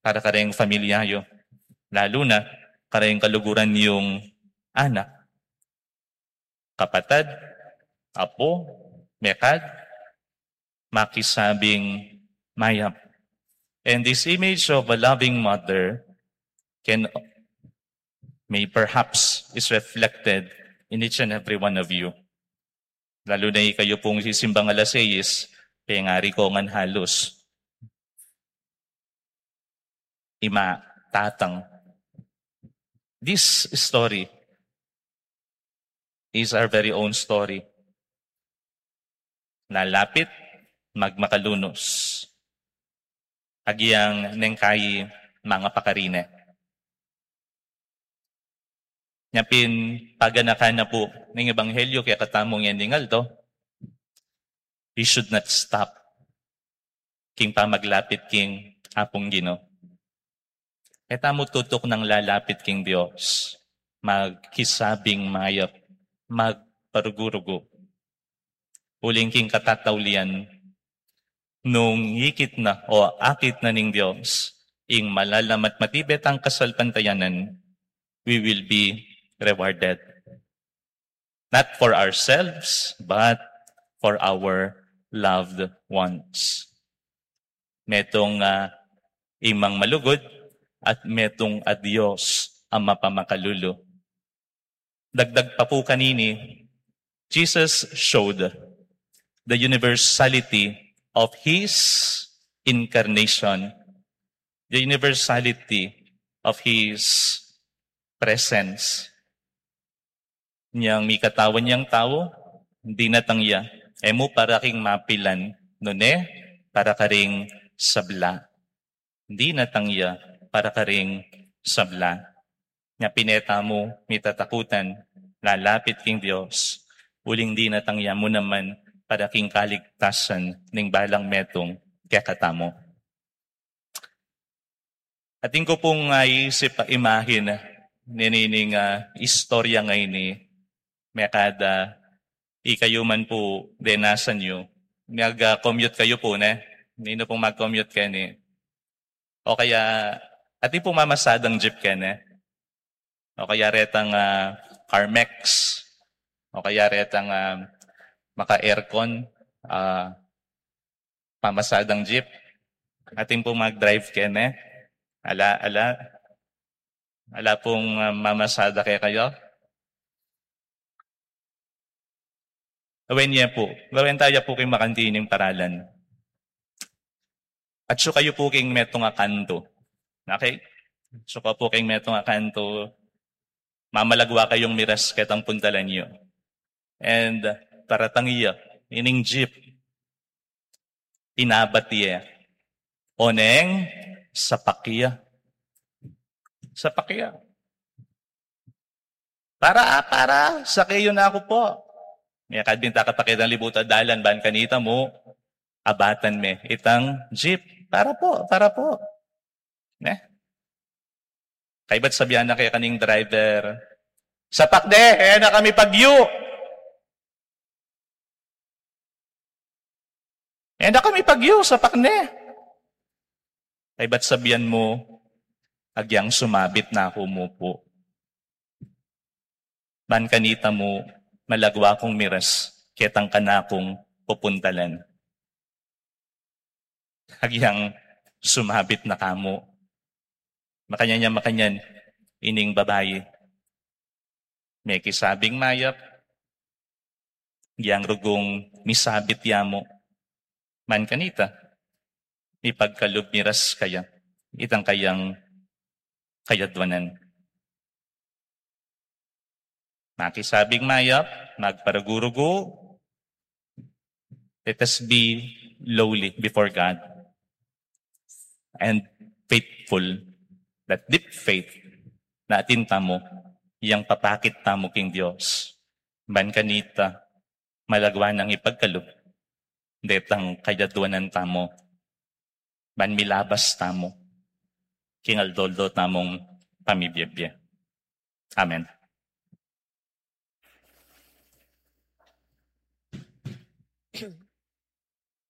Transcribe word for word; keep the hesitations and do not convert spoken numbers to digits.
para kareng pamilya yu, lalu na kareng kaluguran yung anak, kapatad, apu, mekad, makisabing mayap. And this image of a loving mother can, may perhaps is reflected in each and every one of you. Lalu na ikayu pung sisimbang alas seis, pengari ko ngan halus ima, tatang. This story is our very own story. Lalapit, magmakalunus. Agyang neng kayi mangapakarine. Nya pin paganakan na pu ning ebanghelyo kekatamu ngening aldo, we should not stop king pamaglapit king Apung Ginu. E tamu tutuknang lalapit king Dios, magkisabing mayap, magparugu-rugu. Uling king katataulian, nung ikit na o akit na ning Dios ing malalam at matibet a kasalpantayanan, we will be rewarded. Not for ourselves, but for our loved ones. Metung, ah, imang malugud at metung a Dios a mapamakalulu. Dagdag pa pu kanini, Jesus showed the universality of his incarnation, the universality of his presence. Nyang mikatawan yang tau, dinatang ya e mu para king mapilan, nune para karing sabla. Dinatang ya para karing sabla. Nya pin e tamu mitatakutan lalapit king Dios, uling dinatang ya mu naman para king kaligtasan ning balang metung kekatamu. Atin ku pung, ah, isip a imahin ninining, ah, istorya ngeni, mekad ikayu man pu denasan yu, mag, ah, commute kayu pu, ne? Ninu pung mag-commute keni? O kaya, atin pung mamasadang jeep keni? O kaya retang, ah, Carmex, o kaya retang, ah, maka-aircon, ah, mamasadang jeep. Atin pung mag-drive keni? Ala, ala. Ala pung, ah, mamasada kekayu? Awen ye pu, awen taya pu king makantining paralan. Atsu kayu pu king metung a kantu. Okay? Atsu kayu pu king metung a kantu, mamalagwa kayung miras ketang puntalan yu. And paratang ya ining jeep, inabat ye. Oneng, sapak ya. Sapak ya. Para, para, sake yu na ku pu. Mekad binta ka pa ketang libut a dalan, ban kanita mu abatan me itang jeep. Para pu, para pu. Ne? Kaybat sabian na kekaning driver, "Sapak ne, e na kami pagyu." "E na kami pagyu, sapak ne." Kaybat sabian mu, "Agyang sumabit na ku mu pu. Ban kanita mu, malagwa kung miras ketang kanakung pupuntalan." Agyang sumabit na ka mu. Makanyan ya, makanyan ining babai. Mekisabing mayap, agyang rugung misabit ya mu. Ban kanita, mipagkalub miras kaya itang kayang kayadwanan. Makisabing mayap, magparugu-rugu. Let us be lowly before God and faithful, that deep faith na atin tamu, yang papakit tamu king Dios. Ban kanita, malagwa nang ipagkalub detang kayadwanan tamu, ban milabas tamu king aldo-aldo tamung pamibiebie. Amen.